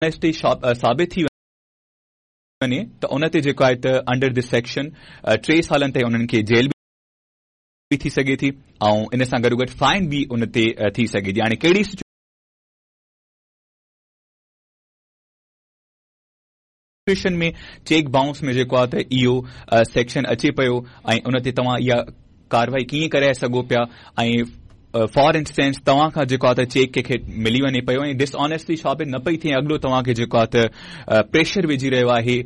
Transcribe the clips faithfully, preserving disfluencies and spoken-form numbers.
ڊسآنيسٽي ثابت ٿي وڃي ته ان تي جيڪو آهي ته انڊر this section ٽي سالن تائين انهن کي جيل به ٿي سگهي ٿي ۽ ان سان گڏوگڏ فائن به ان تي ٿي سگهي ٿي. هاڻي ڪهڙي سچوئيشن ۾ چيڪ بائونس ۾ جيڪو آهي ته اهو سيڪشن اچي پيو ۽ ان تي توهان اها ڪارروائي ڪيئن ڪرائي سگهو پيا ۽ فار انسٽنس توهان کان جيڪو آهي ته چيڪ ڪنهن کي ملي وڃي پيو ۽ ڊسآنيسٽلي ثابت نه پئي ٿئي، اڳلو توهان کي جيڪو آهي ته پريشر وجهي رهيو آهي،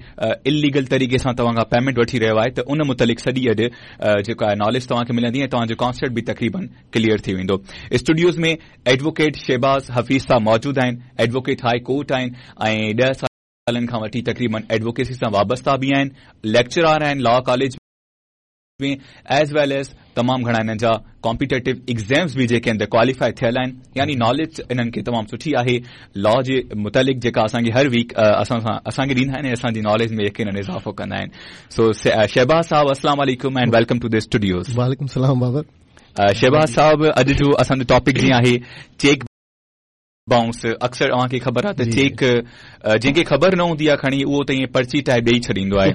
اليگل طريقي سان توهان کان پيمينٽ وٺي رهيو آهي ته ان متعلق سڄي اڄ جيڪو آهي ناليج توهان کي ملندي ۽ توهان جو ڪانسيپٽ به تقريبن ڪليئر ٿي ويندو. اسٽوڊيوز ۾ ايڊووڪيٽ شهباز حفيظ صاحب موجود آهن، ايڊووڪيٽ هاء ڪورٽ آهن ۽ ڏهه سالن کان وٺي تقريبن ايڊووڪيسي سان وابسته به آهن، ليڪچرار آهن law college ۾ as well as تمام گهڻا انهن جا ڪامپيٽيٽو ايگزامز به جيڪي آهن ته ڪواليفائي ٿيل آهن، يعني ناليج انهن کي تمام سٺي آهي لا جي متعلق جيڪا اسان کي هر ويڪ اسان سان اسان کي ڏيندا آهن ۽ اسان جي ناليج ۾ يقينن اضافو ڪندا آهن. سو شهباز صاحب السلام عليڪم and welcome to the studios. وعليڪم السلام بابر. شهباز صاحب اڄ جو اسان جو ٽاپڪ جيئن آهي چيڪ بائونس، اڪثر اوهان کي خبر آهي ته چيڪ جنهن کي خبر نه هوندي آهي کڻي اهو ته ائين پرچي ٽائپ ڏيئي ڇڏيندو آهي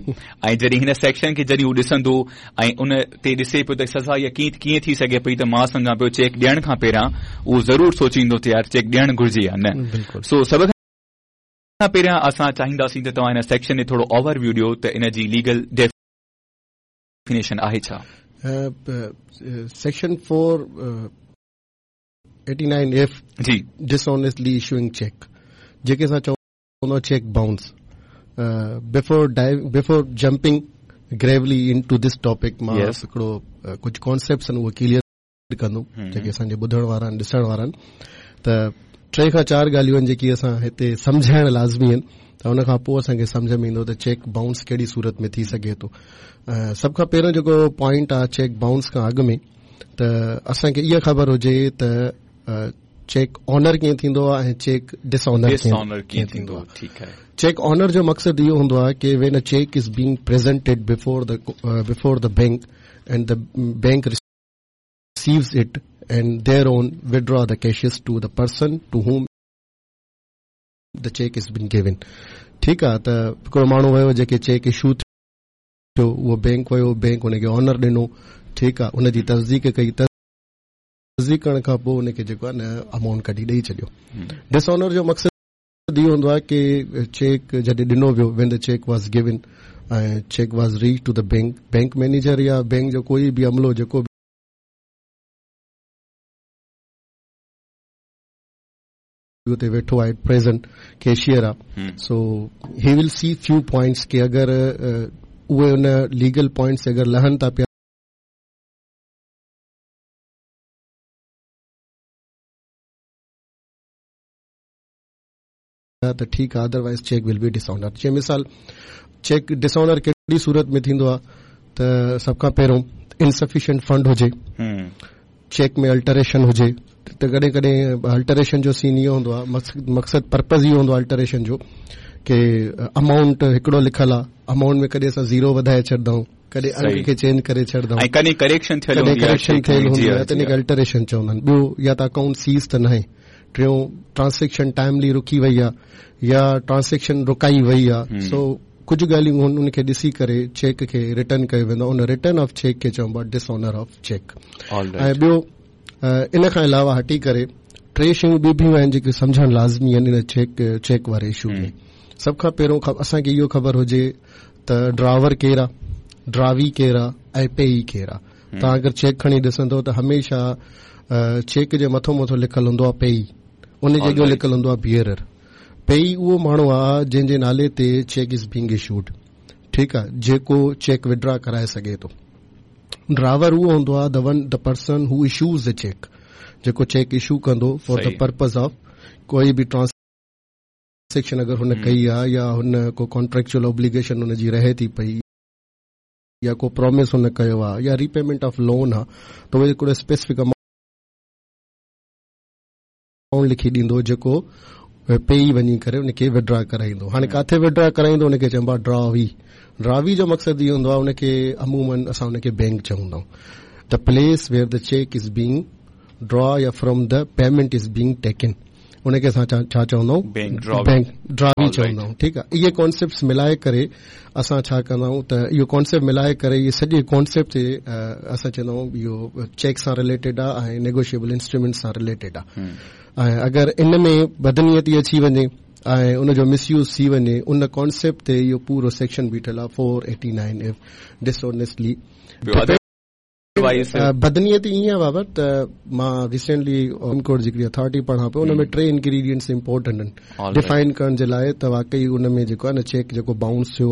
۽ جڏهن هن سيڪشن کي جڏهن هو ڏسندو ۽ ان تي ڏسي پيو ته سزا اها ڪيئن ڪيئن ٿي سگهي پئي ته مان سمجهان پيو چيڪ ڏيڻ کان پهريان اهو ضرور سوچيندو ته يار چيڪ ڏيڻ گهرجي يا نه. سو سڀ کان پهريان اسان چاهينداسين ته توهان هن سيڪشن تي ٿورو اوور ويو ڏيو ته ان جي ليگل ڊيفينيشن آهي ڇا؟ Section four eighty nine F جي ڊسآنيسٽلي اشوئنگ چيڪ، جيڪي اسان چوندا cheque bounce. Before before jumping gravely into this topic مان هڪڙو ڪجهه ڪانسيپٽس آهن اهي ڪليئر ڪندم جيڪي اسان جي ٻڌڻ وارا آهن ڏسڻ وارا آهن. ته ٽي کان چار ڳالهيون آهن جيڪي اسان هتي سمجهائڻ لازمي آهن ته ان کان پوءِ اسان کي سمجهه ۾ ايندو ته چيڪ بائونس ڪهڙي صورت ۾ ٿي سگهي ٿو. سڀ کان پهريون جيڪو پوائنٽ آهي چيڪ بائونس کان اڳ ۾ ته اسان کي اها خبر هجي ته چيڪ آنر ڪيئن ٿيندو آهي ۽ چيڪ ڊس آنر ڪيئن ٿيندو آهي. ٺيڪ آهي. چيڪ آنر جو مقصد اهو هوندو آهي ڪه when a cheque is being presented before the before the bank and the bank receives it and thereon withdraw the cashes to the person to whom the cheque is been given. ٺيڪ آهي ته هڪڙو ماڻهو ويو جيڪي check issue ٿيو اهو bank ويو، بينڪ ان کي آنر ڏنو، ٺيڪ آهي، ان جي تصديق ڪئي، تصديق ڪرڻ کان پوءِ ان کي جيڪو آهي نه امائونٽ ڪڍي ڏيئي ڇڏيو. ڊس آنر جو مقصد اهو هوندو آهي ڪه چيڪ جڏهن ڏنو ويو، when the cheque was given ۽ cheque was reach to the bank, bank manager يا بينڪ جو ڪوئي به عملو جيڪو به اتي ويٺو آهي پريزنٽ ڪيشيئر آهي، so he will see few points ڪه اگر اهي ان ليگل پوائنٽس اگر لهن ٿا پيا ته ٺيڪ آهي، otherwise cheque will be dishonour. جيئن مثال چيڪ ڊس آنر ڪهڙي صورت ۾ ٿيندو آهي ته سڀ کان پهريون انسفيشنٽ فنڊ هجي، چيڪ ۾ الٽريشن هجي، ته ڪڏهن ڪڏهن الٽريشن جو سين اهو هوندو آهي، مقصد پرپز اهو هوندو آهي الٽريشن جو ڪه امائونٽ هڪڙو لکيل آهي، امائونٽ ۾ ڪڏهن اسان زيرو وڌائي ڇڏندا آهيون، ڪڏهن انگ کي چينج ڪري ڇڏندا آهيون، ۽ ڪڏهن ڪريڪشن ٿيل هوندي آهي، ڪريڪشن ٿيل هوندي آهي ته ان کي الٽريشن چوندا آهن. ٻيو يا ته اڪائونٽ سيز ته ناهي، ٽيون ٽرانزيڪشن ٽائملي رڪي وئي آهي يا ٽرانزيڪشن رڪائي وئي آهي. سو ڪجهه ڳالهيون ان کي ڏسي ڪري چيڪ کي ريٽرن ڪيو ويندو آهي، ان ريٽرن آف چيڪ کي چئبو آهي ڊس آنر آف چيڪ. ۽ ٻيو ان کان علاوه هٽي ڪري ٽي شيون ٻيون به آهن جيڪي سمجهڻ لازمي آهن ان چيڪ چيڪ واري اشو ۾. سڀ کان پهريون اسان کي اهو خبر هجي ته ڊراور ڪير آهي، ڊراوي ڪير آهي ۽ پيئي ڪير آهي. توهان اگر چيڪ کڻي ڏسندو ته هميشه چيڪ جي مٿو مٿو لکيل هوندو آهي پيئي، ان جي اڳيان لکيل هوندو آهي بيئرر. پيئي اهو ماڻهو آهي جنهن جي نالي تي چيڪ is being issued, ٺيڪ آهي، جيڪو چيڪ وڊرا ڪرائي سگهي ٿو. ڊرائيور اهو هوندو آهي the one the person who issues the cheque, جيڪو چيڪ اشو ڪندو فار the purpose of ڪوئي به ٽرانزيڪشن اگر هن ڪئي آهي يا هن ڪو ڪانٽريڪچوئل اوبليگيشن هن جي رهي ٿي پئي يا ڪو پرومس هن ڪيو آهي يا ريپيمينٽ آف لون آهي ته اهو هڪڙو اسپيسفڪ امائونٽ لکي ڏيندو جيڪو پيئي وڃي ڪري ان کي وڊرا ڪرائيندو. هاڻي ڪاٿي وڊرا ڪرائيندو ان کي چئبو آهي ڊراوي. ڊراوي جو مقصد اهو هوندو آهي ان کي عمومن اسان ان کي بينڪ چوندا آهيون. The place where the cheque is being draw يا from the payment is being taken. ان کي اسان ڇا چوندا آهيون بينڪ ڊراوي چوندا آهيون ٺيڪ آهي اهي ڪانسيپٽس ملائي ڪري اسان ڇا ڪندا آهيون ته اهو ڪانسيپٽ ملائي ڪري اهي سڄي ڪانسيپٽ تي اسان چوندا آهيون اهو چيڪ سان رليٽيڊ آهي ۽ نيگوشيبل انسٽرومينٽ سان رليٽيڊ آهي ۽ اگر ان ۾ بدنيتي اچي وڃي ۽ ان جو مس يوز ٿي وڃي ان ڪانسيپٽ تي اهو پورو سيڪشن بيٺل آهي four eighty nine F dishonestly بدنيتي ائين آهي بابر ته مان ريسينٽلي سپريم ڪورٽ جي هڪڙي اٿارٽي پڙهان پيو ان ۾ ٽي انگريڊينٽس امپورٽنٽ آهن ڊفائن ڪرڻ جي لاء ته واقعي ان ۾ جيڪو آهي نه چيڪ جيڪو بائونس ٿيو